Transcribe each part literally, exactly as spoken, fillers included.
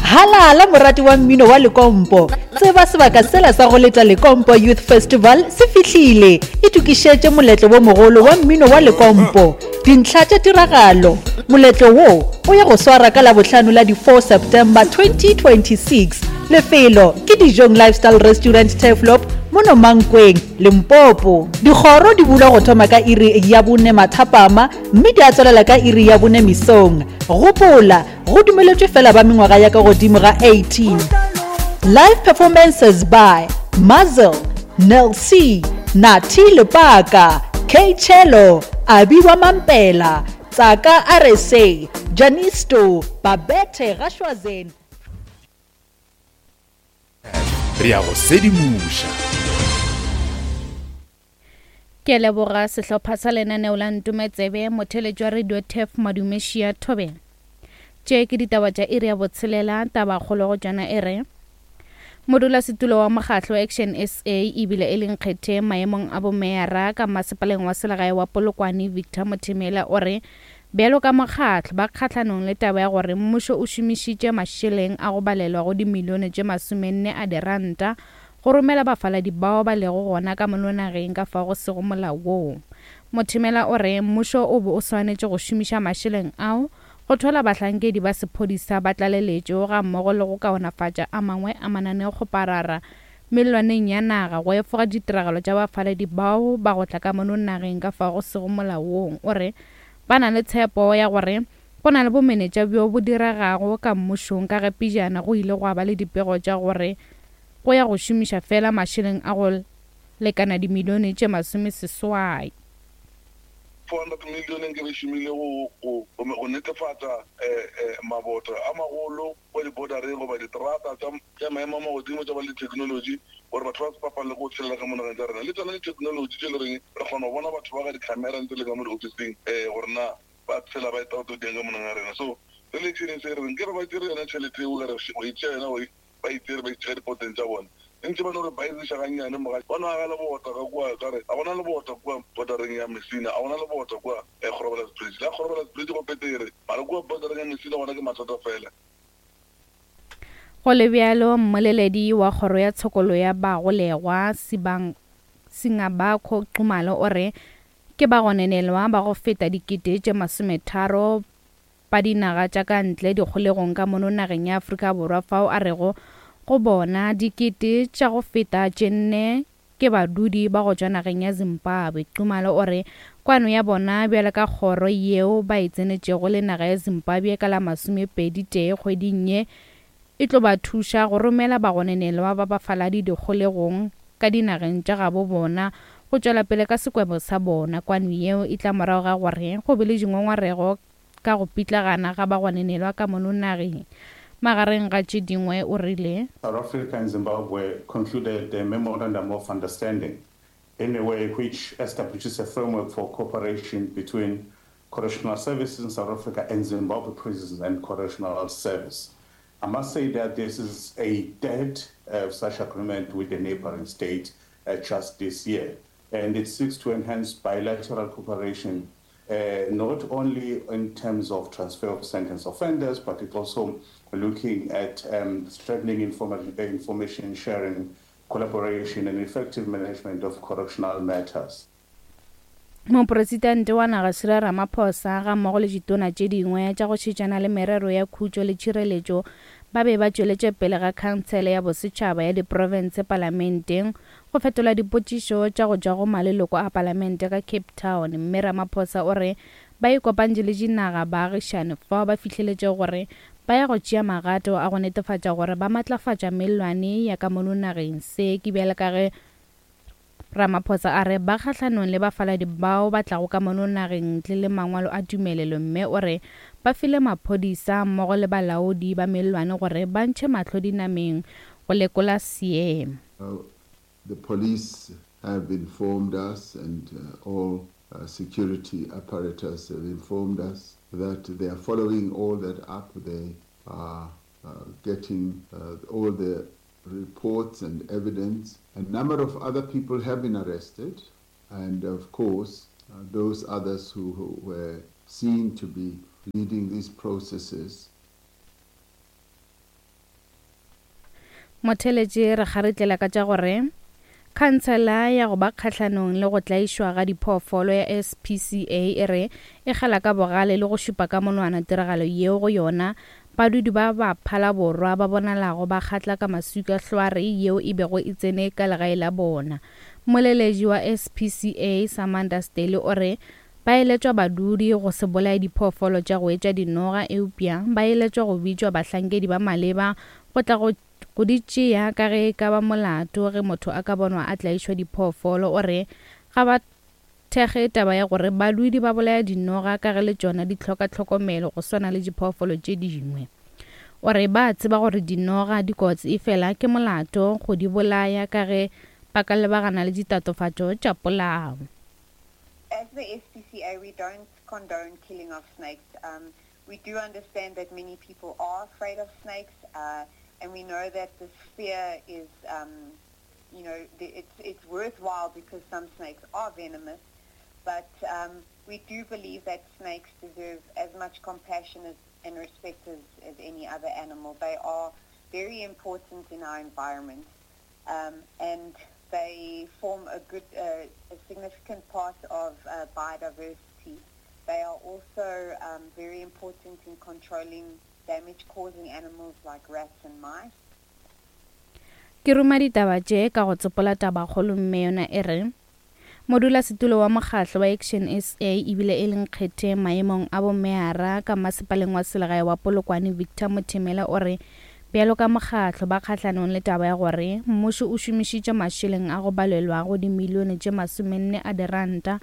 Halala morati wa mmino wa Lekompo. Tseba sebaka sela sa go leta Lekompo Youth Festival se fihlile. Itokišetše moletlo wo mogolo wa mmino wa Lekompo. Dintlha tša tiragalo. Moletlo wo o ya go swara ka Labohlano la di four September twenty twenty-six. Lefelo ke Dijong Lifestyle Restaurant Turfloop mono Mankweng, Limpopo. Dikgoro di bulwa go thoma ka iri ya bone mathapama mme di a tswelela ka iri ya bone mesong. Gopola, go dumeletšwe fela ba mengwaga ya ka godimo ga eighteen. Live performances by Mazel, Nel C, Nathi Lepaka, K Cello, Abiwa Mampela, Tsaka R S A, Janisto, Babette Gashwazen. Re ya go sedimoša. Ke leboga sehlopha sa lenaneo la Ntometsebe, motheletši wa Radio Turf Madumešia Thobela. Tše ke ditaba tša iri ya botshelela, tabakgolo go tšona e re modulasetulo wa mokgatlo Action S A ebile e leng kgethe maemong a bomeyara ka masepaleng wa selegae wa Polokwane Victor Mothemela o re bjalo ka mokgatlo ba kgahlanong le taba ya gore mmušo o šomišitše mašeleng a go balelwa go dimilione tše masomenne a diranta go romela bafaladi bao ba lego gona ka mono nageng ka fao go sego molaong. Mothemela o re mmušo o be o swanetše go šomiša mašeleng ao go thola bahlankedi ba sephodisa ba tlaleletšo ga mmogo le go kaonafatša a mangwe a mananeokgoparara mellwaneng ya naga go efoga ditiragalo tša bafaladi bao ba go tla ka mono nageng ka fao go sego molaong. O re ba na le tshepo ya gore go na le bomenetša bjo bo diregago ka mmušong ka ge pejana go ile gwa ba le dipego tša gore go ya go šomiša fela mašeleng a go lekana dimilione tše masomeseswai. four hundred million nke re šomile go, go, go netefatša, eh, eh, maboto a magolo kwa di-bordereng goba diterata tša, tša maemo a magodimo tša ba le technology gore batho ba se bapale go tshelela ka mo nageng tša rena. Le tsona di-technology tše le reng re kgona go bona batho ba ka di-camera ntse le ka mo di-officing, eh, gore na ba tshela ba eta go tlo dieng ka mo nageng ya rena. So re le tšhelete se re reng ke re ba tšere yona tšhelete eo, re go e tšea yona, go e, ba e tšere, ba e tšea dipoteng tša bona. Ntse ba no re baeziša gannyane mo gae. Ba no aga lebota ka kua, ka re, ga gona lebota kua bordereng ya Messina, ga gona lebota kua, eh, Groblersbrug Bridge. La Groblersbrug Bridge go petere, mara kua bordereng ya Messina gona ke mathata fela. Go le bjalo, mmoleledi wa kgoro ya tshokolo ya bagolegwa Sibang Singabakho Nxumalo o re ke bagononelwa ba go feta dikete tše masometharo ba dinaga tša ka ntle dikgolegong ka mono nageng ya Afrika Borwa fao a rego go bona dikete tša go feta tše nne ke badudi ba go tšwa nageng ya Zimbabwe. Nxumalo o re kwano ya bona bjalo ka kgoro yeo ba e tsenetšego le naga ya Zimbabwe ka la masomepedi tee kgweding ye e tlo ba thuša go romela bagononelwa ba bafaladi dikgolegong ka dinageng tša gabo bona go tšwela pele ka sekwebo sa bona. Kwano yeo e tla morago ga gore go be le dingongorego ka go pitlagana ga bagononelwa ka mono nageng. Magareng ga tše dingwe o rile South Africa and Zimbabwe concluded a memorandum of understanding in a way which establishes a framework for cooperation between correctional services in South Africa and Zimbabwe Prisons and Correctional Service. I must say that this is a third, uh, such agreement with the neighboring state, uh, just this year, and it seeks to enhance bilateral cooperation, uh, not only in terms of transfer of sentence offenders, but it also looking at, um, strengthening informa-, information sharing, collaboration, and effective management of correctional matters. Mopresidente wa naga Cyril Ramaphosa ga mmogo le ditona tše dingwe tša go šetšana le merero ya khutšo le tšhireletšo ba be ba tšweletše pele ga khansele ya bosetšhaba ya diprofense palamenteng go fetola dipotšišo tša go tšwa go maleloko a palamente ka Cape Town. Mme Ramaphosa o re ba ikopantše le dinaga baagišane fao ba fihleletše gore ba ya go tšea magato a go netefatša gore ba matlafatša mellwane ya ka mono nageng. Se ke bjale ka ge Ramaphosa a re ba kgahlanong le bafaladi bao ba tlago ka mono nageng ntle le mangwalo a tumelelo, mme o re ba file maphodisa mmogo le balaodi ba mellwane gore ba ntšhe mahlo dinameng go lekola seemo. Uh, the police have informed us and, uh, all, uh, security apparatus have informed us that they are following all that up. They are, uh, getting, uh, all the reports and evidence. A number of other people have been arrested, and of course, uh, those others who, who were seen to be leading these processes. Motheletše re kgaretlela ka tša gore khansela ya go ba kgahlanong le go tlaišwa ga diphoofolo ya S P C A e re e kgala ka bogale le go šupa ka monwana tiragalo yeo go yona badudi ba ba Phalaborwa ba bonalago ba kgatla ka maswika hlware yeo e bego e tsene ka legae la bona. Moleledi wa S P C A Samantha Staley o re ba eletšwa badudi go se bolaye diphoofolo tša go etša dinoga, eupša ba eletšwa go bitšwa bahlankedi ba maleba go tla go go di tšea ka ge e ka ba molato ge motho a ka bonwa a tlaišwa diphoofolo. O re ga ba thekge taba ya gore badudi ba bolaya dinoga ka ge le tšona di hloka tlhokomelo go swana le diphoofolo tše dingwe. O re ba tseba gore dinoga di kotsi, efela ke molato go di bolaya ka ge ba ka lebagana le ditatofatšo tša polao. As the S P C A, we don't condone killing of snakes. Um, we do understand that many people are afraid of snakes, uh, and we know that this fear is, um, you know, the, it's, it's worthwhile because some snakes are venomous, but, um, we do believe that snakes deserve as much compassion as, and respect as, as any other animal. They are very important in our environment, um, and they form a good, uh, a significant part of, uh, biodiversity. They are also, um, very important in controlling damage-causing animals like rats and mice. Ke ruma ditaba tše ka go tsopola tabakgolo mme yona e re modulasetulo wa mokgatlo wa Action S A ebile e leng kgethe maemong a bomeara ka masepaleng wa selegae wa Polokwane Victor Mothemela o re bjalo ka mokgatlo ba kgahlanong le taba ya gore mmušo o šomišitše mašeleng a go balelwago dimilione tše masomenne a diranta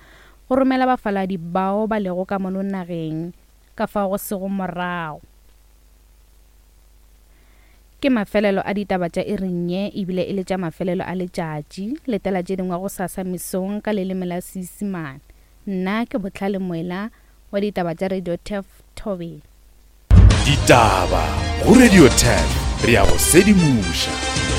go romela bafaladi bao ba lego ka mono nageng ka fao go sego morago. Ke mafelelo a ditaba tša iring ye ebile e le tša mafelelo a letšatši. Letela tše dingwe go sasa mesong ka leleme la Seisemane. Nna ke Botlhale Moela wa ditaba tša Radio Turf Thobela. Ditaba go Radio Turf, re ya go sedimoša.